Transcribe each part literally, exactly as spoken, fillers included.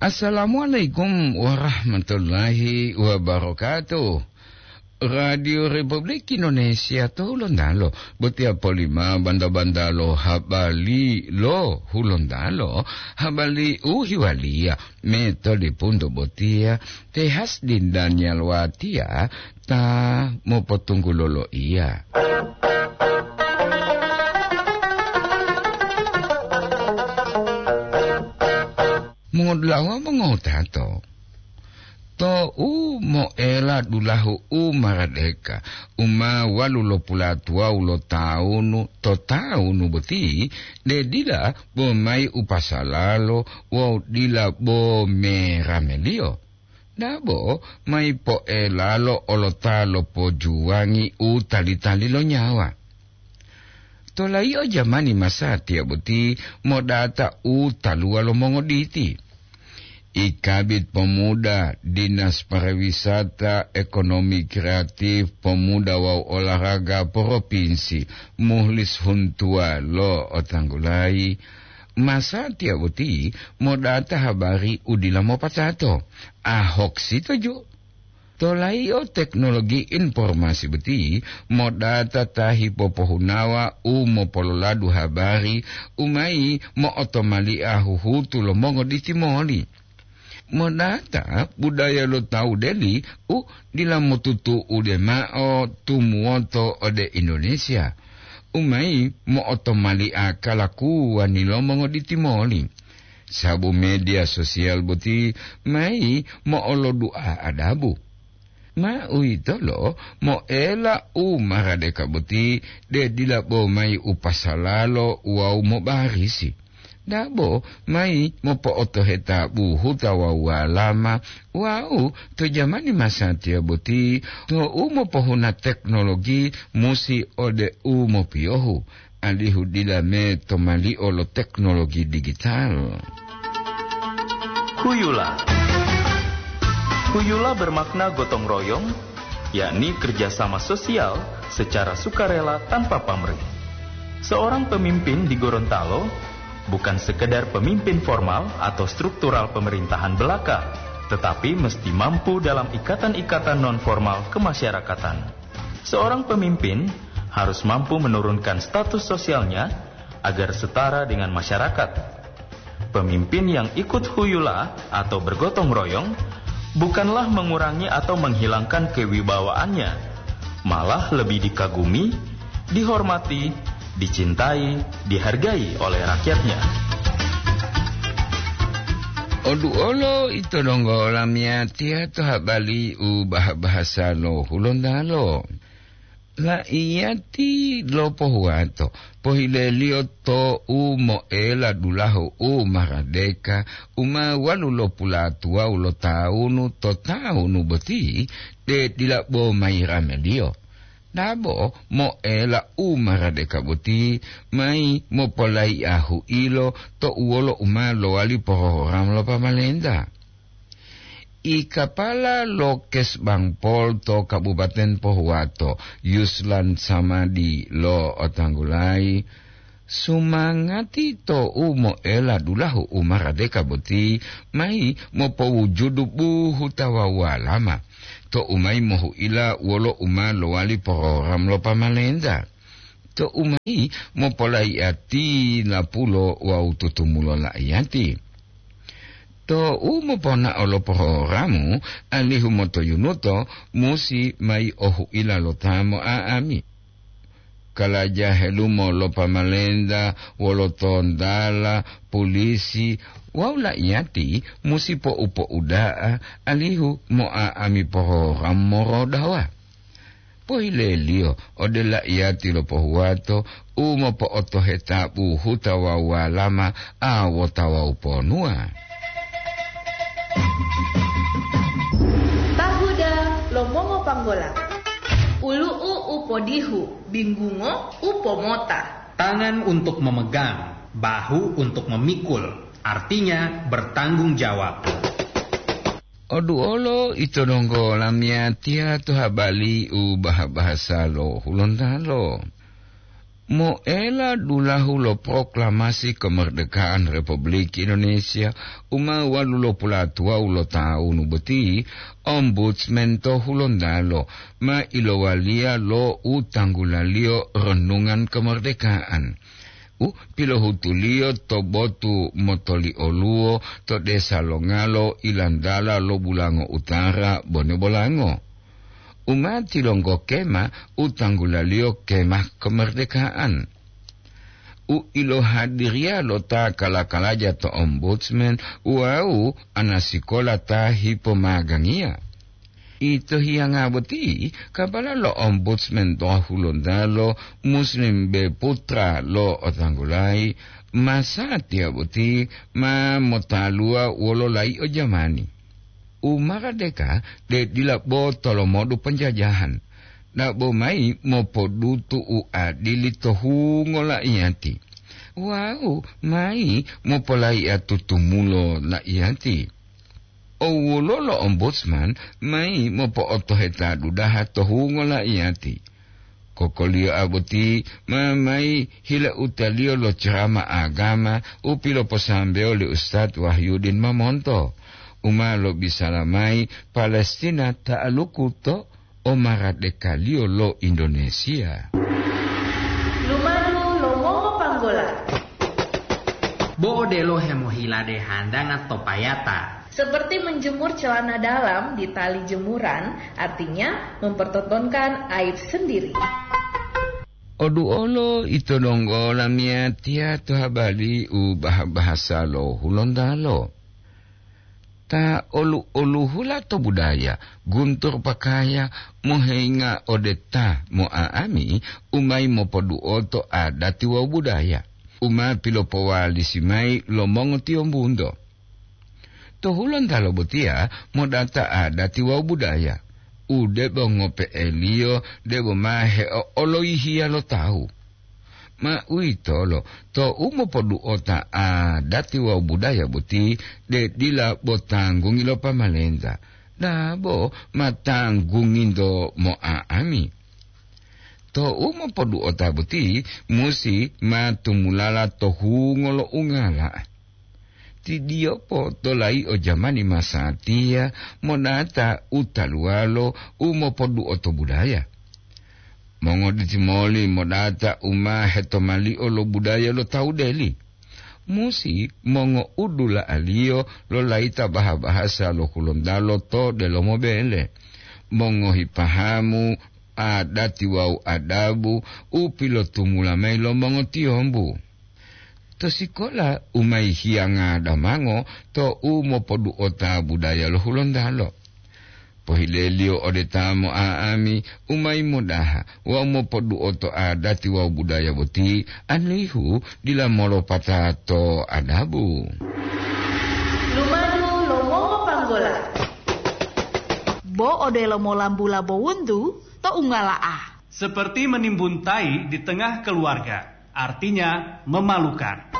Assalamualaikum warahmatullahi wabarakatuh. Radio Republik Indonesia to Hulontalo, botiya polima banda-banda lo habari lo Hulontalo, habari u hiwaliya metode punto botiya, te Hasdin Daniel Watia ta mopotunggulo loiya. Mongodulawa mongotato, to u moela dulahu u maradeka, u ma walu lo pulatuwawu lo tawunu to tawunu boti, de dila bo mayi upasalalo wawu dila bo merameliyo. Dabo mayi poelalo olota lo pojuwangi u tali-tali lo nyawa. Tolayi'o jamani masatiya boti modata u taluwa lo mongoditi. Ikabit Pemuda, Dinas Pariwisata, Ekonomi Kreatif, Pemuda wawu Olahraga Propinsi, Muhlis Huntuwa lo otanggulayi, masatiya boti modata habari u dila mopatato, a hoax ito ju. Tolayi'o teknologi informasi boti modata ta hipopohunawa u mopololadu habari u mayi mo'otomali'a huhutu lo mongoditi moli. Modata budaya lo tawu deli u dila motutu'ude ma'o tumuwoto ode Indonesia, u mayi mo'otomali'a kalakuwani lo mongoditi moli. Sabu media sosial boti mayi mo'olodu'a adabu. Ma uwitolo moela u maradeka boti de dila bo mayi upasalalo wawu mobarisi. Dabo mayi mopo'otoheta buhuta wawu walama wawu to jamani masatiya boti to u mopohuna teknologi musi ode u mopiyohu, alihu dila me tomali'o lo teknologi digital. Huyula. Huyula bermakna gotong royong, yakni kerjasama sosial secara sukarela tanpa pamrih. Seorang pemimpin di Gorontalo bukan sekedar pemimpin formal atau struktural pemerintahan belaka, tetapi mesti mampu dalam ikatan-ikatan non-formal kemasyarakatan. Seorang pemimpin harus mampu menurunkan status sosialnya agar setara dengan masyarakat. Pemimpin yang ikut huyula atau bergotong royong bukanlah mengurangi atau menghilangkan kewibawaannya, malah lebih dikagumi, dihormati, dicintai, dihargai oleh rakyatnya. Oduolo ito donggo lamiyatiya to habari u bah-bahasa lo Hulontalo. La'iyati lo pohuwato, pohileliyo to u moela dulahu u maradeka, u ma walu lo pulatuwawu lo tawunu to tawunu boti, de dila bo mayi rameliyo. Dabo moela u maradeka boti mayi mopolaiya huilo to uwolo u ma lowali porogram lo pamalenta. I kapala lo Kesbangpol to Kabupaten Pohuwato, Yuslan Samadi lo otanggulayi, sumangati to u moela dulahu u maradeka boti mayi mopowujudu buhuta wawu walama, to u mayi mohuila wolo u ma lowali porogram lo pamalenta, to u mayi mopolaiya ti lapulo wawu tutumulo la'iyati. To u moponao lo porogramu, alihu motoyunuto musi mayi ohuila lo ta mo'a'ami. Kalaja helumo lo pamalenta wolo tontala, pulisi, wawu la'iyati musi po'u-po'uda'a alihu mo'a'ami porogram morodawa. Pohileliyo ode la'iyati lo pohuwato u mopo'otoheta buhuta wawu walama a wota wawu ponuwa. Tahuda lo mongopanggola. Ulu'u u podihu, binggungo u pomota. Tangan untuk memegang, bahu untuk memikul, artinya bertanggung jawab. Oduolo ito donggo lamiyatiya to habari u bah-bahasa lo Hulontalo. Moela dulahu lo proklamasi kemerdekaan Republik Indonesia u ma walu lo pulatuwawu lo taunu boti, Ombudsman to Hulontalo ma ilowaliya lo u tanggulaliyo Renungan Kemerdekaan, u pilohutuliyo to botu motoli'oluwo to desa Longalo, Ilantala lo Bulango Utara, Bone Bolango. U ma tilonggo kema u tanggulaliyo Kemah Kemerdekaan, u ilohadiriya lo ta kala-kalaja to Ombudsman wawu anasikola ta hipomagangiya. Ito hiyanga boti, kabala lo Ombudsman to Hulontalo, Muslim B Putra lo Otanggulayi, masatiya boti ma motaluwa wolo layi'o jamani. U maradeka de dila bo tolomodu penjajahan, dabo mayi mopodutu u adili to hungo laiyati, wawu mayi mopolaiya tutumulo laiyati. Owulo lo Ombudsman mayi mopo'otoheta dudaha to hungo laiyati. Kokoliyo aboti ma mayi hilautaliyo lo cerama agama u piloposambewo li Ustad Wahyudin Mamonto, u ma lobisala mayi Palestina ta'aluku to omaradekaliyo lo Indonesia. Lumadu lo mongopanggola. Bo odelo hemohilade handanga to payata. Seperti menjemur celana dalam di tali jemuran, artinya mempertontonkan aib sendiri. Oduolo ito donggo lamiyatiya to habali u bah-bahasa lo Hulontalo. Ta olu-oluhula to budaya, guntur pakaya, moheinga ode ta mo'a'ami, u mayi mopoduoto adati wawu budaya, u ma pilopowalisi mayi lo mongotiyombunto. To Hulontalo botiya modata adati wawu budaya, u debo ngope'eliyo debo ma heo'oloyihiya lo tawu. Ma uwitolo, to u mopoduota adati wawu budaya boti, de dila bo tanggungi lo pamalenta, dabo ma tanggunginto mo'a'ami. To u mopoduota boti musi ma tumulala to hungo lo ungala. Ti diyopo to layi'o jamani masatiya monata u taluwalo u mopoduoto budaya. Mongoditi moli modata u ma hetomali'o lo budaya lo tawu deli. Musi mongo'udula'aliyo lo layita baha-bahasa lo Hulontalo to delomo bele, mongohi pahamu, adati wawu adabu u pilotumula mayi lo mongotiyombu. To sikola u mayi hiyanga damango to u mopoduota budaya lo Hulontalo. Pohileliyo ode ta mo'a'ami u mayi modaha wawu mopoduoto adati wawu budaya boti, alihu dila molopata to adabu. Lumadu lo mongopanggola. Bo odelo molambula bowuntu to ungala'a. Seperti menimbun tai di tengah keluarga, artinya memalukan.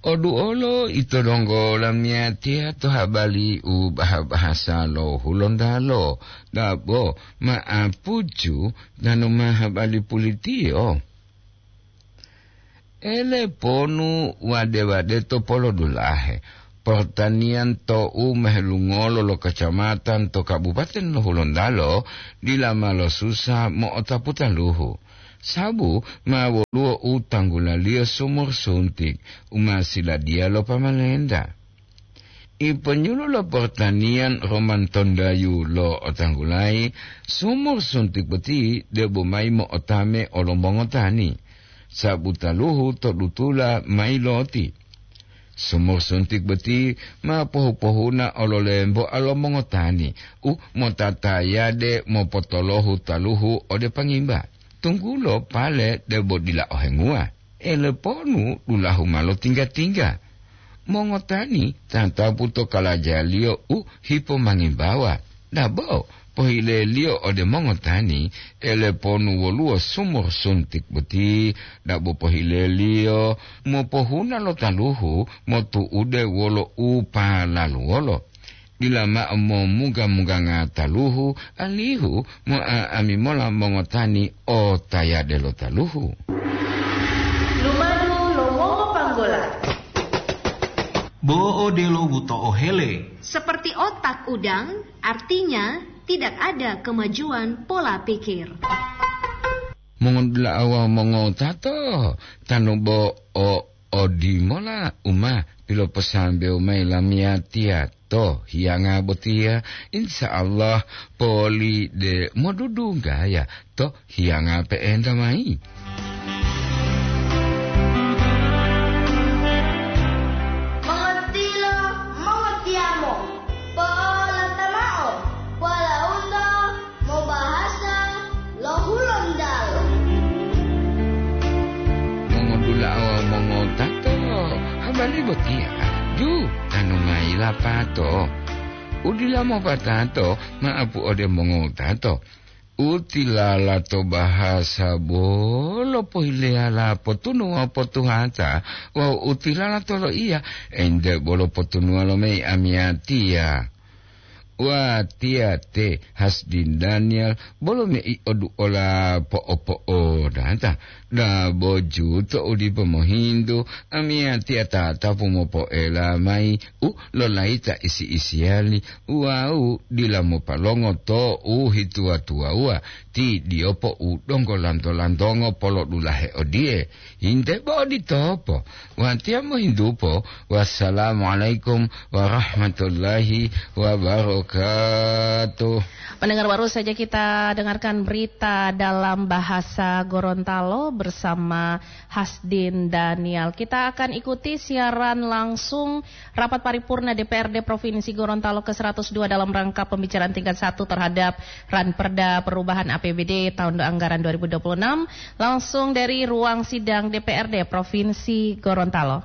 Oduolo ito donggo lamiyatiya to habali u baha-bahasa lo Hulontalo, dabo ma'apucu tanu ma habali pulitiyo. Ele ponu wade-wade to polodulahe, pertanian to u mehelungolo lo kacamatan to kabupaten lo Hulontalo dila ma losusa mo'otapu taluhu, sabu ma woluwo u tanggulaliyo sumur suntik u ma siladiya lo pamalenta. Iponyulu lo pertanian Roman Tondayu lo otanggulayi, sumur suntik boti debo mayi mo'otame olo mongotani, sabu taluhu to dutula mayi loti. Sumur suntik boti ma pohu-pohuna olo lemboa lo mongotani u motatayade mopotolohu taluhu ode pangimba, tunggulo pale debo dila ohenguwa. Eleponu dulahu ma lotingga-tingga. Mongotani tatapu to kalajaliyo u hipomangimbawa. Dabo pohileliyo ode mongotani, eleponu woluwo sumur suntik boti, dabo pohileliyo mopohuna lo taluhu motu'ude wolo u palaluwolo. Dila ma'o momuga-muganga taluhu, alihu mo'a'ami mola mongotani o tayade lo taluhu. Lumadu lo wongopanggola. Bo odelo wuto ohele. Seperti otak udang, artinya tidak ada kemajuan pola pikir. Mongodula'a wawu mongotato, tanu bo o odimola u ma piloposambewu mayi lamiyatiya to hiyanga botiya, insya Allah poli de modudunggaya to hiyanga pe'enta mayi. Mongotilo, mongotiyamo, po'olata mao, pola'unto mobahasa lo Hulontalo. Mongodula'a wawu mongotato, habari botiya ju tanu mayi lapato. Udila mopatato, ma'apu ode mongotato. Utilala to bahasa bolo pohileyala potunu wawu potuhata, wawu utilala to loiya, ente bolo potunuwa lo mayi amiyatiya. Watiya te Hasdin Daniel bolo mei oduola po'o-po'odata, dabo juto u dipo mohintu, amiyatiya tatapu mopoela mayi u lolayita isi-isiyali wawu dila mopalongo to u hituwa-tuwawuwa ti diyopo u donggo lanto-lantongo polodulahe odiye, "Hinte bo oditopo, watiya mohintupo, wassalamualaikum warahmatullahi wabarakatuh." Pendengar, baru saja kita dengarkan berita dalam bahasa Gorontalo bersama Hasdin Daniel. Kita akan ikuti siaran langsung rapat paripurna D P R D Provinsi Gorontalo ke seratus dua dalam rangka pembicaraan tingkat satu terhadap Ranperda perubahan A P B D tahun anggaran dua ribu dua puluh enam, langsung dari ruang sidang D P R D Provinsi Gorontalo.